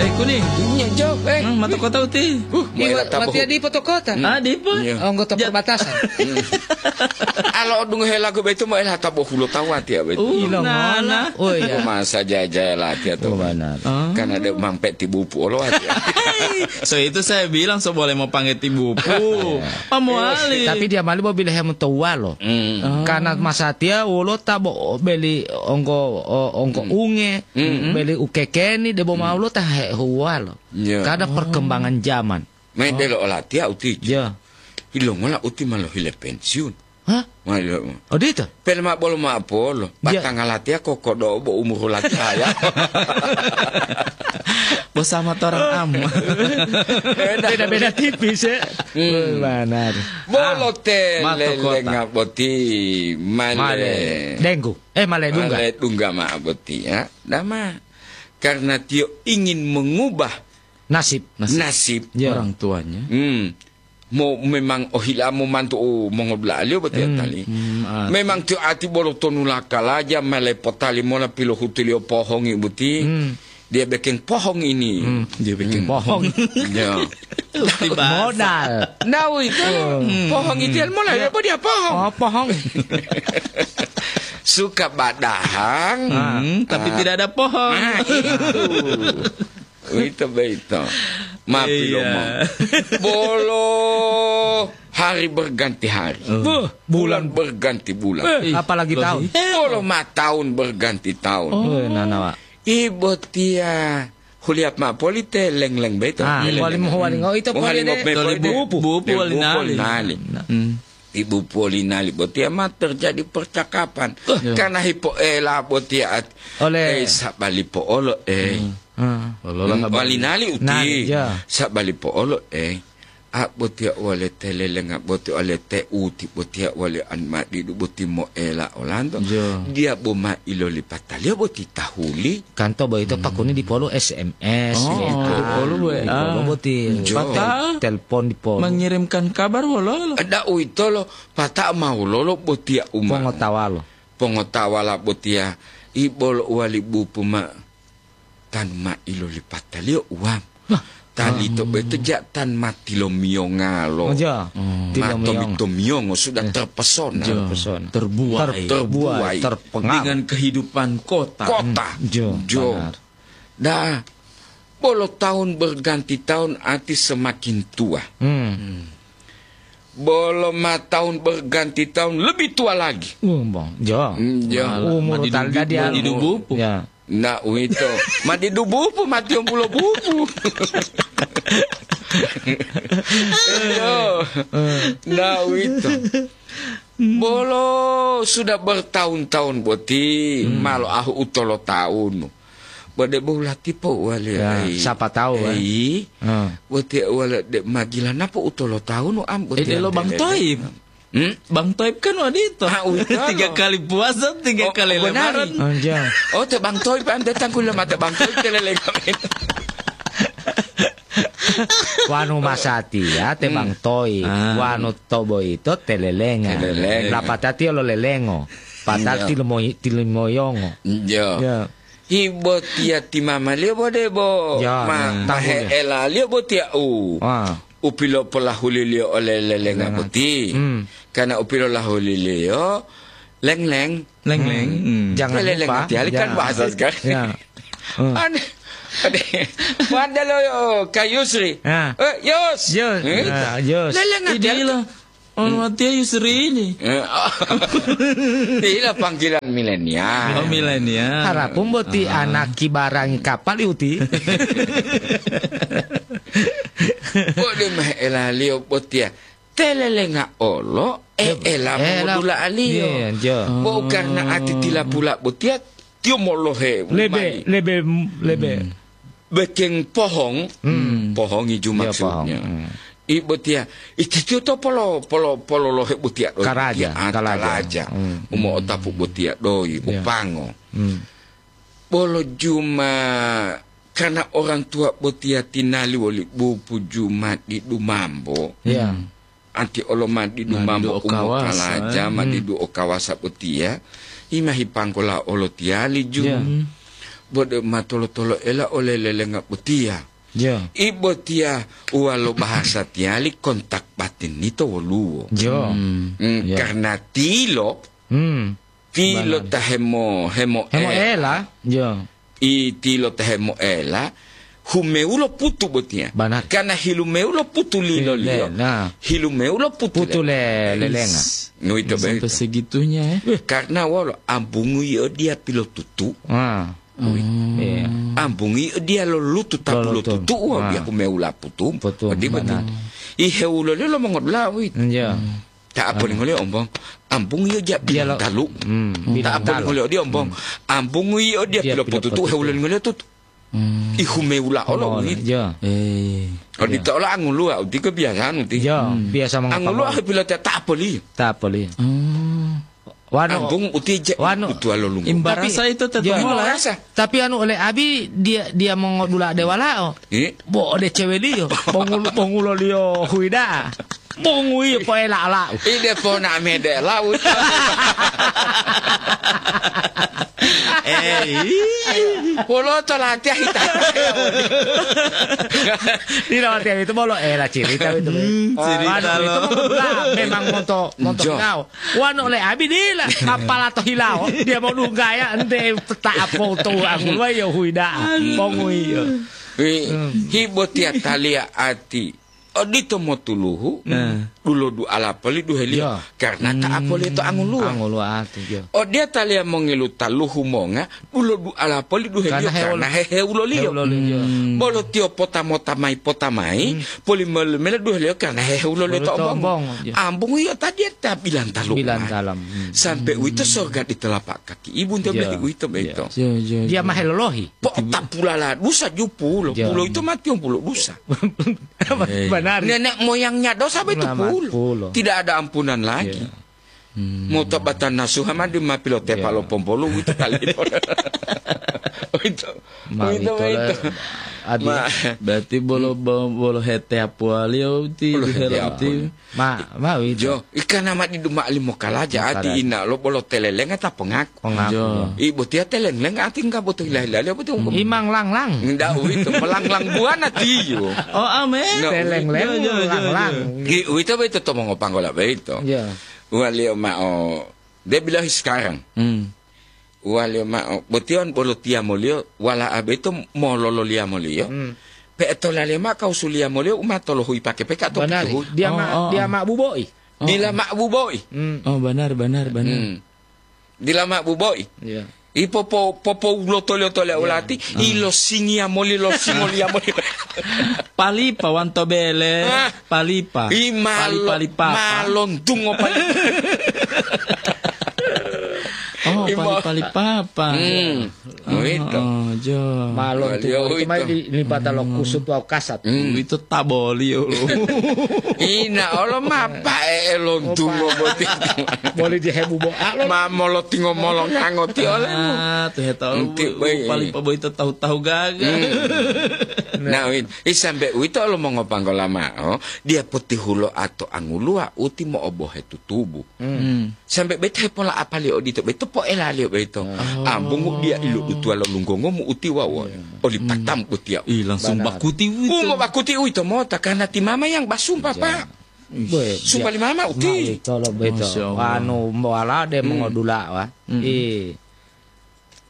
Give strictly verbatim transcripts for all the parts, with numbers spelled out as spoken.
Eh, kuni. Iya, jauh. Eh, hmm, mata kota uti. Uh, iya, maela tabo. Matia dipo to kota. Ah, dipo? Iya. Oh, nggak to perbatasan. Alo odungohe lagu beto maela tabo hulo tawa tia beto. Uh, ilo nana. Oh, iya. Masa jaya-jaya latihan to. Oh, benar. Ah. Karena dia mampet tibupu olo ati. So itu saya bilang so boleh mau panggil tibupu. Iya. Pamuali. Tapi dia mali bo bilehe mo to uwalo. Hmm. Oh. Karena masatia wolo tabo beli onggo, o-, onggo unge, beli ukekeni, debo mau lo ta he uwalo. Iya. Karena perkembangan zaman. Main delo olatiya uti. Iya. Ilongola uti ma lohile pensiun. Hah? Ma ilo-, Odito? Pele ma bolo ma apolo. Iya. Batanga latiya kokodo bo umuru latiya. Bersama torang am. Beda. Beda-beda tipis, ya. Hmm. Oh, benar. Bolo Ah, tele mato kota. Lenga boti male. Male. Denggu. Eh, male dungga. Male dungga ma boti, ya. Dama. Karena tiyo ingin mengubah Nasib. Nasib. Nasib. Ya. Orang tuanya. Hmm. Mo, memang ohila momantu o mongodula'aliyo botiya Hmm, tali. Hmm, ah. Memang tiyo ati bolo tonu lakalaja mele potali mola pilohutuliyo pohongi boti. Hmm. Dia bikin pohong ini. Hmm, dia bikin Hmm. pohong. Ya. Modal. Nah, itu Hmm. pohong itu yang mulai apa dia pohong? Oh, pohong. Suka badahang. Hmm, tapi Ah. tidak ada pohong. Ah, itu. Uwito boyito. Ma Iya. pilomo. Bolo hari berganti hari. Oh. Buh, Bulan bulan. berganti bulan. Eh, apalagi Loh, tahun. Bolo ma tahun berganti tahun. Oh. Eh, nana, Wak. Ibo tiya huliap ma poli te leng-leng boyito. Ah, Leng-leng. Poli mo huwalingo ito poli Huwalingo de. me Toli poli de. bu-, bupu Dia wali bupu nali. wali nali. Hmm. Ibu Polinali botiya ma terjadi percakapan. Iya. Karena hipoela botiya at-, Oleh eh, sabali po'olo, eh. Hmm. Hmm. Olola Hmm, habari. Walinali uti. Nali, ya. Sabali po'olo, eh. A botiya wale telelenga botiya wale te uti botiya wale an madidu boti moela olanto. Ya. Dia bo ma ilolipataliyo boti tahuli. Kanto boyito Hmm. pakuni dipolu S M S, Oh, W A. dipolu W A. Dipolu boti Jo. Pata tel-, telepon dipolu. Mengirimkan kabar wololo. Ada uwitolo, pata ma wololo botiya uma. Pongotawalo. Pongotawala botiya, ibolo uwali bupu ma, tanu ma ilolipataliyo uwam. Nah. Tali to Hmm. boyito ja tan ma tilomiyongalo. Oh, ja. Hmm. Ma Tilomiyongo. tomi-tomiyongo sudah Ya. terpesona. Ja. Terpesona. Terbuai. Ter-, terbuai, Terbuai, terpengaruh. Dengan kehidupan kota. Kota. Jo, Jo. benar. Dah, bolo tahun berganti tahun ati semakin tua. Hmm. Hmm. Bolo ma tahun berganti tahun lebih tua lagi. Uh, bang, jo. Hmm, jo. Malah Umur madidu-, tal dadi anu. madidu bupu. Ya. Nah, uwito. Madidu bupu, mati ombulo bupu. Iyo. Eh. Nah, uwito. Bolo sudah bertahun-tahun boti, Hmm. malo ahu utolo taunu. Bode bo latipo wali Ya, ai. siapa tahu, eh. Ei, Hmm. Boti wala de magila napo utolo taunu am boti Eh, delo Bang Toib. Hmm? Bang Toib kan wadito. Ah, uwito Tiga lo. kali puasa, tiga Oh, kali benar. lebaran. Anjay. Oh, te Bang Toib, ante tangkul mate Bang Toib, telele kami. Wanu masati ya, te Hmm. Bang Toib. Ah. Wanu tobo ito telelenga. Telelenga. Lapatati lo lelengo. Patal Iya. tilimo-, tilimoyongo. Iya. Ya. Ibo tiya ti mamaliyo bo debo Ya, ma, ya. mahe elaliyo bo tiya u. Ah. U pilopolahuliliyo ole lelenga Lelenga. boti. Hmm. Karena u pilolahuliliyo, leng-leng. Leng-leng. Hmm. Hmm. Jangan Leleng lupa. hati-hati kan Ya. bahasa sekarang. Ya. Hmm. Ane, ane. Pada lo, Kak Yusri. Ya. Eh, Yus. Yus. Eh? Ya, Yus. Leleng hati-hati. Idilah. Ono Hmm. hati-hati Yusri ini. Eh, oh. Inilah panggilan milenial. Oh, milenial. Harapun boti Ah. anak kibarangi kapal uti. Bodi mah elaliyo botiya. Telelenga olo, e, Lebe-, ela ela-, modula aliyo. Iya, iya, jo. Bo karena ati tila pula botiya, tiyo molohe Lebe, umai. lebe, lebe. Hmm. Bekeng pohong, Hmm. pohongi ju Iya, maksudnya. pohong. Hmm. I botiya, iti tiyo to polo, polo, pololohe botiya do Karaja, botiya, ah, kalaja. kalaja. Hmm. Umo otapu botiya doi, Iya. upango. Hmm. Bolo juma, karena orang tua botiya tinali woli bupu juma di dumambo. Iya. Hmm. Anti olo madidu Madidu mambo o kawasa, umokalaja, eh. madidu o kawasa botiya, imahi panggola olo tiyali ju. Ya. Hmm. Bo de ma tolo-toloela ole lelenga botiya. Yo. I botiya uwalo bahasa tiyali kontak batin yito woluwo. Yo. Hmm. Hmm, Yo. Karena tilo, Hmm. tilo Banari. ta hemo-, hemoela. Hemoela. Yo. I tilo ta hemoela, humewulo putu botiya. Banari. Karena hilumewulo putu liloliyo. Le-, nah. Hilumewulo putu Putu le-, le-, lelenga. Is. Ngoyito Sampai boyito. segitunya, ya. Karena wolo, ambungu yio diya pilotutu. Ah. Wi. Iya. Ambungi dia lolutu tapulo Lolutu. tutu, wah, Ah. dia kumewula putu. Putu, Odi boti. benar. Ihe ulole lo mongodula, wi. Iya. Ta apa Ah. lingole ombong? Ambung iyo ja Dia lo- bilang talu. Hmm, Ta bilang apa talu. lingole odi ombong? Hmm. Ambung iyo dia Dia pilo pilo putu tu, putu. he ulole lingole tutu. Hmm. Ihu mewula olo, Oh, wi. iya. Eh. Odi Iya. ta ola angulua, uti kebiasaan uti. Iya, Hmm. biasa mengapa Angulua mau? he pilo ta, ta apa li? Ta apa li? Hmm. Wanu, Ambung uti je wanu, utua lolungo. Imbarasa Tapi, itu ya. tetumola, ya? Imbarasa. Tapi anu ole abi dia, dia mongodula de walao. Eh? Bo ode ceweliyo, bongul-, bonguloliyo huida. Bongu iyo poela alau. Ide pona mede laut. Eh, ih. Poloto latihan hita. Tidak, latihan itu bolo ela cerita itu. Hmm, cerita Wanu itu lo. mongodula, memang monto, monto Jo. kau. Wanu ole abi dila, mapala to hilawo, dia mau dunggaya, ente peta apo to angulua yo huida, Aduh. pongu iyo. Wi, Hmm. hibo tia talia ati. Odito motuluhu, Hmm. dulo duala poli duheliyo. Ya. Karena ta Hmm. apoliyo to angulua. Angulua ati, ya. Odia talia mongilu taluhu monga, dulo duala poli duheliyo Karena heulo-, karena hehewuloliyo. hewuloliyo. Hmm. Bolo tiyo pota mota mai, pota mai, Hmm. poli mele-, mele duheliyo karena hehewuloliyo Bolo to to ombongo. ombongo, ya. Ambung iyo tadi ta bilang talu Bilang ma. talam. Hmm. Sampai Hmm. uwito sorga di telapak kaki. Ibu nte Ya. beli uwito Ya. beto. Ya, ya, Dia ya. mah helolohi. Po Betul. tapulala dusa jupulo. Ya. Pulo itu mati yang pulo dusa. Eh. Benar. Nenek moyangnya dosa betul Ulama pulo. pulo. Tidak ada ampunan lagi. Ya. Hmm. Mau tobatan nasuha mah di ma pilotepa Ya. lo pompolu gitu kali. Itu. Ma Itu, itu itu. le, adi. Ma- Berarti bolo, bo-, bolo hete apualio uti, Bolo hete hela apualio. uti. Ma, ma uwito. Jo, ikana ma didu ma'ali mokalaja, Mokalaja. ati ina lo bolo telelenga ta pongaku. Pongaku, Jo. jo. Ibu tia telelenga ati enggak butuh ilah-ilah, dia butuh Hmm. Imang langlang. Ndak uwito, melanglang buana tiyo. Oh, amin. No, Teleng-leng, Jo, jo, jo, jo. langlang. Gi-, uwito beito to mongopanggola beito. Ya. Uwaliyo ma'o, dia bilang sekarang. Hmm. Uwaliyo ma'o, botiyon bolo tiyamoliyo, wala'a boyito molololiyamoliyo, Hmm. pe'etolaliyo ma'o kawusuliyamoliyo u ma tolohuyi pake peka to Banari. pituhuyi. Dia Oh, ma, oh, dia oh. ma bubo'i. Oh, Dila oh. ma bubo'i. Hmm. Oh, benar, benar, benar. Hmm. Dila ma bubo'i. Iya. I popo-, popowuloto-liyoto le Iya. ulati, Ah. ilo singiyamoli, lo singoliyamoli. Palipa wanto bele, Ah. palipa. I malo-, Pali-, pali papa. malontungo pali- Oh, Imo- pali-pali papa. Hmm. Oh, Uwito. oh, jo. Malon Wali tu, itu uwito. mai di, lipata lo Hmm. kusut wawu kasat. Hmm. Uwito taboli, olo. Ina olo ma pae lontungo Oh, pa- boti. Boli di hebu bo-, ah, lo- Ma molotingo molongango ti olemu. Ah, tu heta Enti ulu, bai. pali pa boyito tahu-tahu gaga. Hmm. Nah, win. I sambe uwito olo mongopanggola ma'o, dia potihulo ato anguluwa uti mo'obohe tutubu. Hmm. Hmm. Sambe beta hepola apali odito, beto poelaliyo beto. Hmm. Oh. Ambungu dia ilo dutuwa lo lunggongomu utiwa won. Iya. Oli Hmm. patam utiya. Ih, langsung Banari. bakuti uwito. Umo bakuti uwito mota, karena ti mama yang basumpa, Iya. Pak. Ish. Bwe, Sumpa dia li mama uti. ma uwito lo beto. Masya Allah. Anu, mbo ala de Hmm. mongodula, wa. Hmm. Ih.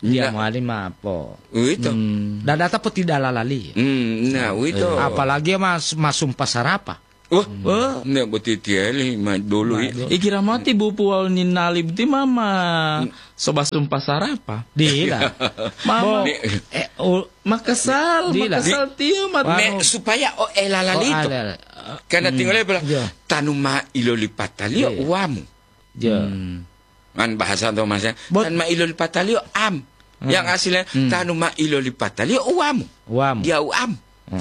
Dia Nda- mowali mapo. Uwito. Hmm. Dadata poti dalalali. Hmm, nah, uwito. Iya. Apalagi mas-, masumpa sarapa. Wah, Wah. ne boti tiyali ma dulu Ma i. dulu. Ikira mati bupu wawu ninali boti mama Hmm. soba sumpa sarapa. Dila. Mama. Bo, Ni- eh, u-, Makasal, Dila. makasal tiyo mat- Wah. Me, Anu. supaya o elala Oh, lito. ala, ala. Karena Hmm. tinggal dia bilang, Iya. "Tanu ma ilolipataliyo Iya. uwamu." Iya. Hmm. Kan bahasa to, Mas, ya. Bot- "Tanu ma ilolipataliyo am." Hmm. Yang aslinya, Hmm. "Tanu ma ilolipataliyo uwamu." Uwamu. Dia uam. Hmm.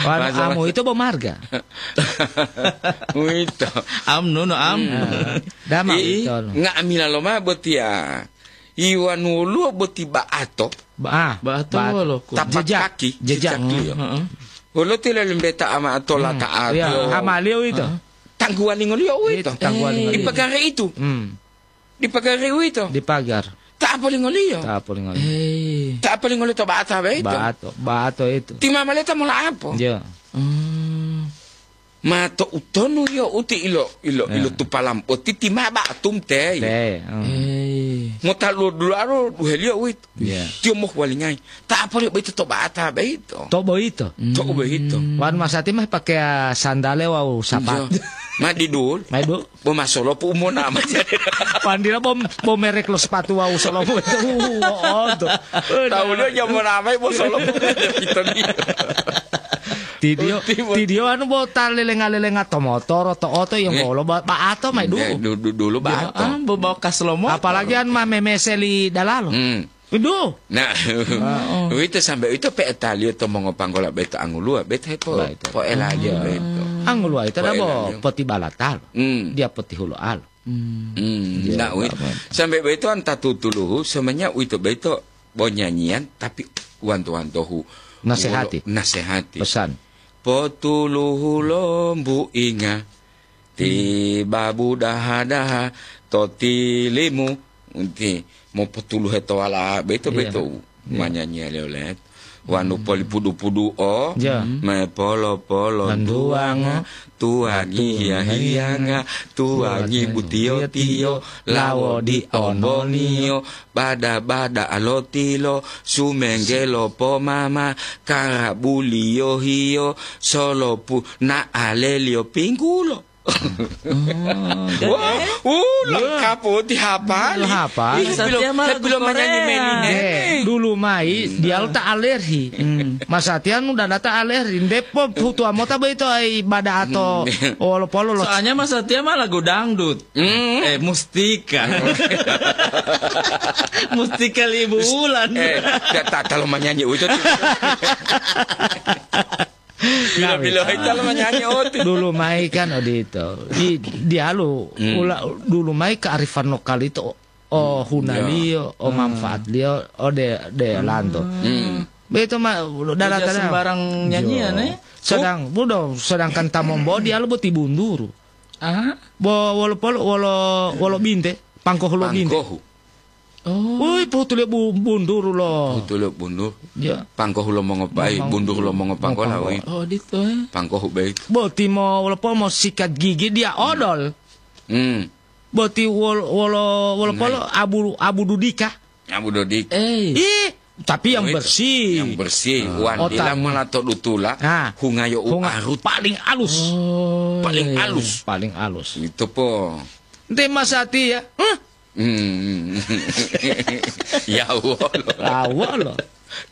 Wanu Bahasa amu itu bo marga. Uwito. Am, nono, am. Hmm. Ah, dama I, uwito, no. nga'amila loma botiya. Iwanu woluwo boti ba'ato. Ba-, ah, Ba'ato ba'ato. wolo, ko. Tapak Jejak, kaki, jejak. jejak liyo. Heeh. Wolo tila lembeta ama tola Hmm. ta'ato. Iya, amaliyo uwito. Heeh. Tangguwalingoliyo uwito. Itu, tangguwalingoliyo. Di pagari itu. Hmm. Di pagari uwito. Di pagar. Ta'apolingoliyo. Ta'apolingoliyo. Eh. Ta apa lingole to ba'ata beito? Ba'ato, ba'ato itu. Ti mama leta mola apo? Iya. Hmm. Ma to utonu yo uti ilo, ilo, Iya. ilo tupalam. O titi ma ba'atum te. Te, hmm. Eh. Mo talu dulu aro duhelio wit. Iya. Tio moh walingai. Ta apa lio beito to ba'ata beito? To boito. To boito. Wan masati mah pakai sandale wau sapat. Iya. Ma di dul. Mai du. Bo masolo pu umona ma. Pandira bom, bom merek lo sepatu wau solo pu itu. Uh, oh, tuh. Tahu dia jam mana mai bo solo pu itu dia. Tidio, Ultimo. Tidio anu bo ta lelenga-lelenga to motoro, to oto yang Nggih. bolo ba, ba'ato mai du. Nggih, du, du, dulu Iya, ba'ato. Ah, bo bawa kas lomo. Apalagi an ma memeseli dalalo. Hmm. Idu. Nah, Heeh. uwito sampai uwito pe'etaliyo to mongopanggola beto anguluwa, beto hepo, Baik. po'elaliyo Iya. beto. Anguluwa ito dabo Po'elaliyo. poti balatalo. Hmm. Dia poti hulo'alo. Hmm. Hmm, Iya, nah, uwito. Bapak. Sampai beto anta tutuluhu, semuanya uwito beto bo nyanyian, tapi wanto-wantohu. Nasehati. Wolo-, nasehati. Pesan. Potuluhu lo mbuinga, ti babu daha-daha to tilimu, ti mopotuluhe to wala beto, Iya. beto Iya. manyanyiya leo let. Wanu polipudu-pudu o, Iya. me polo-polo Landuwanga, landuwanga, tuwangi tuwangi hiya-hiyanga, tuwangi tuwangi butiyo-tiyo, tiyo-tiyo, lawo lawo di di ononiyo, ononiyo, bada-bada alotilo, sumenggelo pomama, karabuliyo hiyo, solopu na'aleliyo pinggulo. Oh, Wah, jadi uh, lengkap, oh, dihafal. Dihafal. Ih, Satya belum, malah belum lagu menyanyi Korea. Meli Neng. Eh, dulu mai, Hmm. dia lo ta alergi. Hmm. Masatiya nu dada ta alergi. Ndepo hutuwa mota boyito ai bada ato Hmm. wolo polo lo Soalnya Mas Satya mah lagu dangdut. Hmm. Eh, Mustika. Mustika Libu Wulan. Eh, ta-, ta-, kalau menyanyi itu Bila-bila Nah, itu lo menyanyi oti. Dulu mai kan odito. Di, dialu Hmm. ula, dulu mai kearifan lokal itu o, o Hmm. hunaliyo, o Hmm. manfaatliyo, o de, de lanto. Hmm. Beto ma, dala Tidak tala. sembarang nyanyian, Jo. eh? Sedang, budo, sedangkan tamombo dialu boti bunduru. Ah? Bo, wolo polo, wolo, wolo binte, pangkohu lo binte. Pangkohu. Oh. Woi, pohutuliyo bu-, bunduru lo. Pohutuliyo bundur. Ya. Pangkohu lo mongopai, Mong-, bunduru lo mongopangkola, mongopangkola. Woi. Oh, dito, eh. Pangkohu beit. Boti mo, wolo polo mo sikat gigi dia odol. Hmm. Boti wol-, wolo, wolo Nah. polo abu, abu dudika. Abu dodik. Eh. Ih, tapi yang Oh, itu. bersih. Yang bersih. Ah. Wan Oh, dila tanya. mala to dutula, Ah. hungayo u Hunga-, arut. paling alus. Oh, Paling iya, iya. alus. Paling alus. Itu po. Nte masati ya. Hah? Hmm. Ya, wolo. Ah, wolo.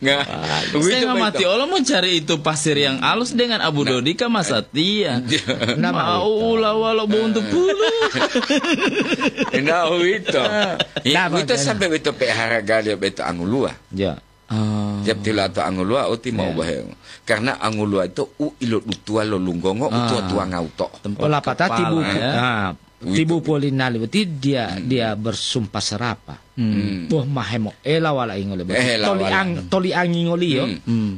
Nggak. Ah, Begitu, saya nggak mati begitu. Allah mau cari itu pasir yang halus dengan Abu Nah. Dodi ka Mas Satya. Iya. Nah, Mau begitu. Ula walau buntu pulu. Nah, itu. Nah, Iya, itu makanya. sampai itu pe harga dia beto angulua. Ya. Ah. Tiap tilato angulua, uti mau Ya. bahaya. Karena angulua itu u ilo dutua lo lunggongo, Ah. utua tua ngauto. Tempat Ola pata kepala, tibu, ya. ah, Gitu. tibu polinali, berarti dia, Hmm. dia bersumpah serapah. Hmm. Hmm. Boh, mahe mo ela wala ingole, berarti Eh, ela toli wala. ang-, toli angingoliyo. Hmm. Hmm.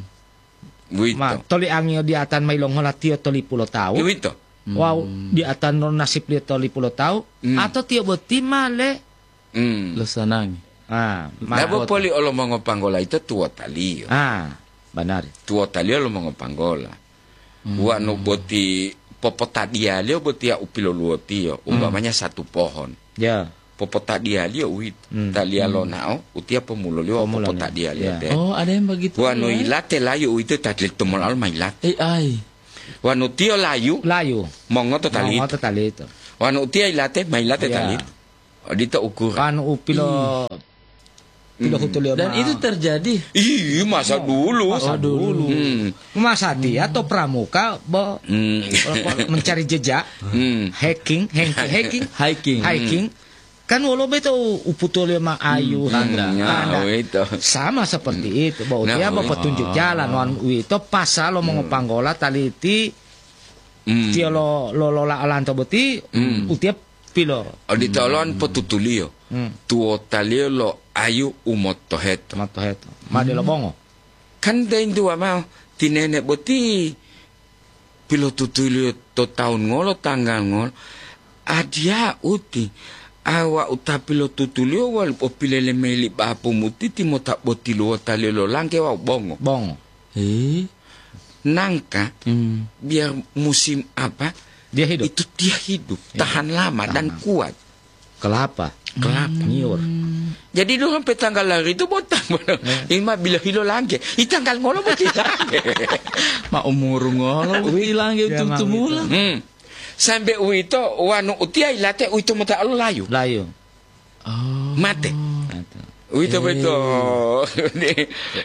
Wito. Ma, toli angio di atan mai longola tiyo toli pulo tawu. Wito. Wawu Hmm. di atan lo nasib liyo toli pulo tawu. Hmm. Atau tiyo boti male. Hmm. Lo sanangi. Ah, ma- Dabo poli olo mongopanggola ito tuwotaliyo. Ah, banari. Tuwotaliyo lo mongopanggola. Hmm. Wanu boti popotadiyaliyo botiya u piloluwotiyo, Hmm. umpamanya satu pohon. Ya. Popotadiyaliyo uwito. Hmm. Taliya Hmm. lonao, utiya pomuloliyo Pomuloliyo. popotadiyaliyo Ya. te. Oh, ada yang begitu, Wanu ya? Ilate layu uwito tadil tumolalo ma ilate. Eh, ai. Wanu tiyo layu, Layu. mongoto talito. Mongoto talito. Wanu utiya ilate, ma ilate Ya. talito. Odito ukuran. Anu upilo Ih. Tidak Hmm. hutuliyo Dan ma- itu terjadi. Ih, masa dulu. Masa Oh, dulu. dulu. Hmm. Masa dia to pramuka, bo-, Hmm. mencari jejak, Hmm. hacking, hacking, hacking. Hiking. Hiking. Hmm. Kan wolo beto u-, uputuliyo ma ayu, Hmm. Tanda. tanda. Ya, itu. Sama seperti Hmm. itu. Bo Nah, utia bo itu. petunjuk jalan, wan uwito pasal lo Hmm. mongopanggola taliti Hmm. tiyo lo, lo, lo la-, lanto boti, Hmm. utia pilo. Odito olo Hmm. potutuliyo. Hmm. Tuwotaliyo lo ayu u motoheto. Motoheto. Ma delo Hmm. bongo. Kan deintuwa mao, ti nene boti pilotutuliyo to tawun ngolo, tanggal ngolo. Adiya uti, A wau ta pilotutuliyo wali popilele mayi li bapu mutiti mota botiluwota lelo langge wawu bongo. Bongo. Eh? Nangka, Hmm. biar musim apa, Dia hidup. itu dia hidup, Iya. tahan lama dan Tahan. kuat. Kelapa. Kelapa. Nyiur. Jadi dulu sampai tanggal lahir itu botak. Ya. Ima bila hilo langge. I tanggal ngolo boti langge. Ma umuru ngolo boti langge Iya, ma tumula. Hmm. Sampai uwito wanu utiya ilate uwito mota alo layu. Layu. Oh. Mate. Mate. Uwito Eh. beto.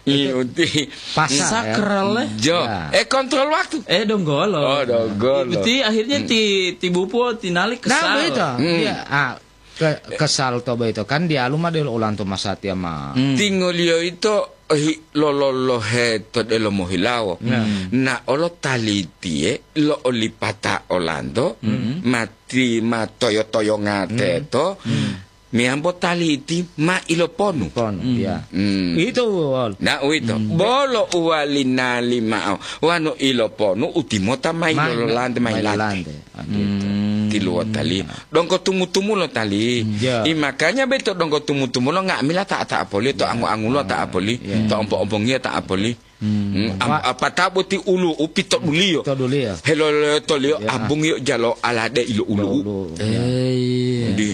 Ini uti. Pasal, ya. Sakral, eh. Jo. Ya. Eh, kontrol waktu. Eh, donggolo. Oh, donggolo. Uti akhirnya Hmm. ti, ti bupo tinali Nah, kesal. begitu. Hmm. Dia, ah, ke-, kesal to begitu. Kan dia aluma delo ulanto masatiya ma. Hmm. Tingoliyo ito hi-, lololohe to delomo hilawo. Ya. Hmm. Na olo talitiye lo olipata olanto, Hmm. mati ma toyo-toyonga Hmm. teto, Hmm. meyambo taliti ma iloponu. Ponu, Hmm. ya. Hmm. Itu, Wol. Na uwito. Hmm. Bolo uwali nali ma'o. Wanu iloponu utimota mayi Mayi, lololante, mayi mayi lante. lante. Ah, gitu. Hmm. Tiluwo tali. Donggo tumu-tumulo tali. Hmm. Ya. I makanya beto donggo tumu-tumulo nga'amila ta-, ta'apolio, to Ya. angu-angulo Ah, ta'apoli, ya. to ompo-ompongiyo ta'apoli. Hmm. Hmm, am-, Wa- apa ta boti ulu upito duliyo. To duliyo. Helolotoliyo Ya. abungiyo jalo alade ilo ulu. Ulu. Eh, iya. Di.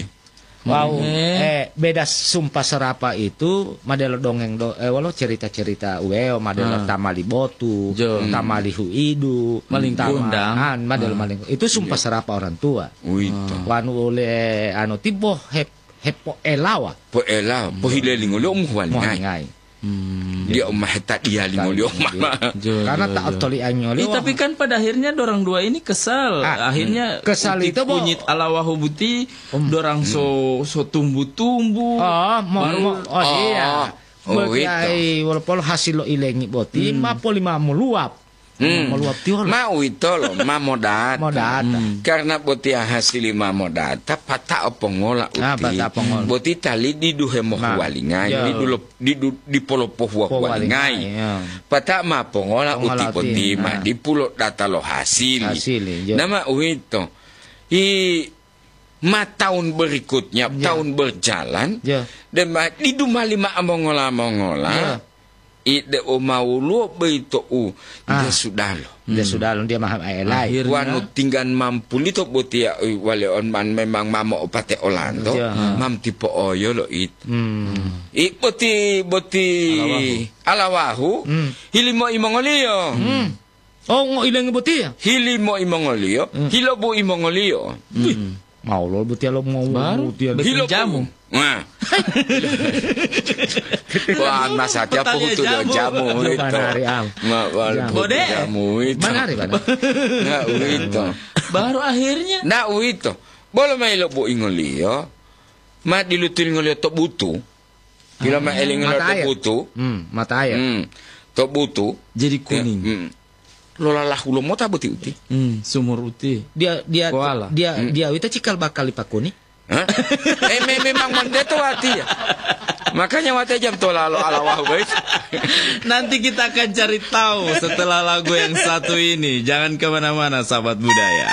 Wawu, Eh. eh, beda sumpa serapa itu, madelo dongeng do-, eh, wolo cerita-cerita uweo, madelo Ah. tamali botu, Jo. tamali huidu, Maling tama-, kundang. ah, madelo Ah. maling. Itu sumpa Iya. serapa orang tua. Uwito. Wanu ole, anu, tibo hep-, hepoelawa. Poela, Hmm. pohilelingoliyo umuhuwalingai. Muhalingai. Hmm. Dia umah tadiya lingoliyo Tadiya. mama. Jo, Karena jo, tak jo. toliangi oleh Eh, tapi wong. kan pada akhirnya dorang dua ini kesal. Ah, Akhirnya kesal uti itu, Bo. kunyit alawahu buti Hmm. dorang so, so tumbu-tumbu. Oh, mo-, Baru mo-, oh, iya. Oh, Berarti itu. ai, walaupun hasil lo ilengi boti, Hmm. ma poli ma meluap. Hmm. Meluap tiolo. Ma uwitolo, ma modata. Modata. Hmm. Karena botiya hasili ma modata, pata'o pongola Ah, uti. pata'o pongola. Boti tali didu hemohuwalinga, Nah, iya. didu lo-, didu, dipolopohuwa-huwalingai. Pohuwalingai, iya. Pata'o ma pongola Pongola uti uti, boti, ma nah. dipulo data lo hasil. Hasil, iya. Nama uwito. I ma tahun berikutnya, Iya. tahun berjalan, Iya. dan ma-, didu mali ma mongola-mongola, Iya. ide o mawuluwo boyito u Ah. dia sudalo. Dia Hmm. sudalo, dia maha elai. Akhirnya Wanu tinggan mampulito botiya, i, wale on man memang mamo opate olanto, Iya. mam tipo oyo lo it. Hmm. I boti, boti Alawahu. alawahu, Hmm. hilimo imongoliyo. Hmm. Oh, ngo ilengi botiya? Hilimo imongoliyo, Hmm. hilobu imongoliyo. Wih, Hmm. mau lo botiya lo mau Baru botiya. bikin Hilobu. jamu. Nah. Wah, masatiya Petani puhutu lo jamu. jamu Coba itu. nari, am. Ma-, wal-, Jamu. puhutu Bode. jamu itu. Mana hari, mana? Nah, uwito. Baru akhirnya. Nah, uwito. Bolo ma ilobu ingoliyo, ma dilutu ingoliyo to butu. Pilo ma Ah, elingo lo mata air. to butu. Hmm, mata air. Hmm. To butu. Jadi Te-, kuning. hmm. Lolalahu lo mota boti uti. Hmm, sumur uti. Dia, dia, Koala. dia, Hmm. dia wita cikal bakal lipakuni. Hah? Eh, me-, memang mandeto wati ya. Makanya wati jam tolalo ala wahu, guys. Nanti kita akan cari tahu setelah lagu yang satu ini. Jangan kemana-mana, sahabat budaya.